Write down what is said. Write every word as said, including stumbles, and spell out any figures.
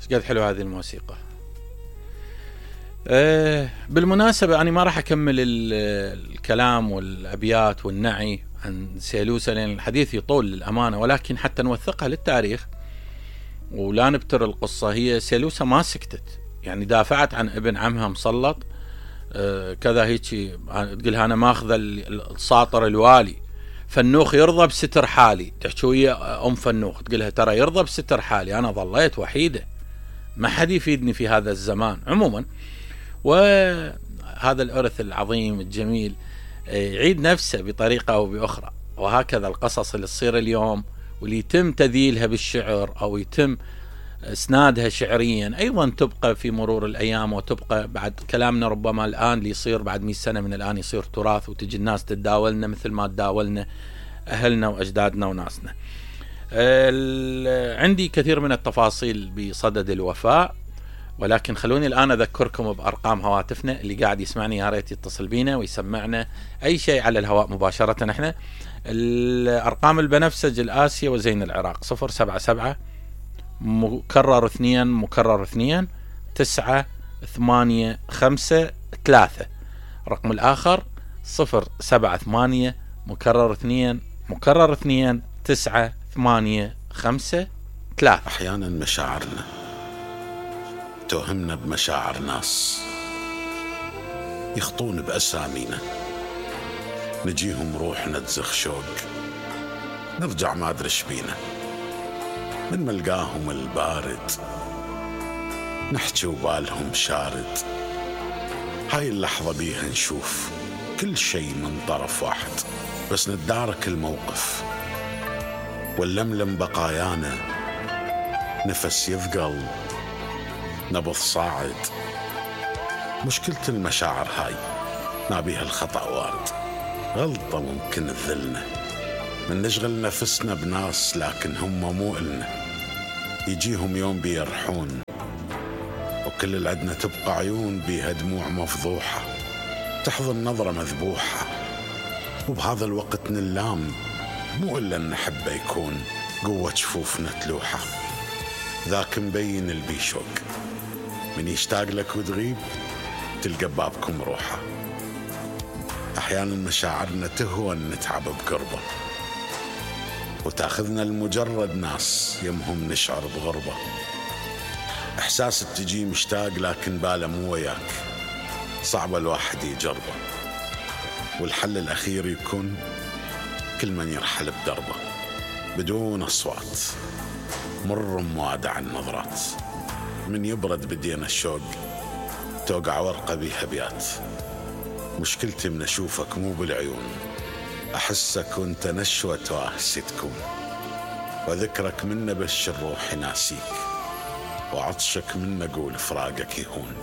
ايش قد حلو هذه الموسيقى. أه بالمناسبة أنا ما راح أكمل الكلام والأبيات والنعي عن سيلوسة لأن الحديث يطول للأمانة، ولكن حتى نوثقها للتاريخ ولا نبتر القصة. هي سيلوسة ما سكتت، يعني دافعت عن ابن عمها مسلط أه كذا هيك، تقولها أنا ماخذة الساطر الوالي، فنوخ يرضى بستر حالي، تحكي ويا أم فنوخ تقولها ترى يرضى بستر حالي، أنا ظليت وحيدة ما حد يفيدني في هذا الزمان. عموما وهذا الإرث العظيم الجميل يعيد نفسه بطريقة أو بأخرى، وهكذا القصص اللي تصير اليوم واللي يتم تذيلها بالشعر أو يتم اسنادها شعريا أيضا تبقى في مرور الأيام، وتبقى بعد كلامنا ربما الآن اللي يصير بعد مئة سنة من الآن يصير تراث، وتجي الناس تتداولنا مثل ما تداولنا أهلنا وأجدادنا وناسنا. عندي كثير من التفاصيل بصدد الوفاء، ولكن خلوني الآن أذكركم بأرقام هواتفنا. اللي قاعد يسمعني يا ريت يتصل بينا ويسمعنا أي شيء على الهواء مباشرة. احنا الأرقام البنفسج الآسيا وزين العراق صفر سبعة سبعة مكرر اثنين مكرر اثنين تسعة ثمانية خمسة ثلاثة. رقم الآخر صفر سبعة ثمانية مكرر اثنين مكرر اثنين تسعة ثمانية خمسة ثلاثة. أحيانا مشاعرنا توهمنا بمشاعر ناس يخطون بأسامينا، نجيهم روحنا تزخ شوق، نرجع ما أدري ايش بينا، من ملقاهم البارد نحكي وبالهم شارد. هاي اللحظة بيها نشوف كل شيء من طرف واحد، بس نتدارك الموقف واللملم بقايانا، نفس يثقل نبض صاعد. مشكلة المشاعر هاي نابيها الخطأ وارد، غلطة ممكن تذلنا، من نشغل نفسنا بناس لكن هم مو إلنا، يجيهم يوم بيرحون وكل اللي عدنا تبقى عيون بيها دموع مفضوحة، تحضن نظرة مذبوحة، وبهذا الوقت نلام مو إلا نحبه يكون قوة شفوفنا تلوحة. ذاك مبين البيشوق من يشتاق لك وتغيب تلقى بابكم روحه. أحيانا مشاعرنا تهون نتعب بقربه، وتاخذنا المجرد ناس يمهم نشعر بغربة. إحساس تجي مشتاق لكن باله مو وياك، صعب الواحد يجربه، والحل الأخير يكون كل من يرحل بدربه بدون أصوات، مر موادع النظرات، من يبرد بدينا الشوق توقع ورقة بيها بيات. مشكلتي من أشوفك مو بالعيون، أحسك وانت نشوة واهسي تكون، وذكرك من بش الروح ناسيك، وعطشك من أقول فراقك يهون.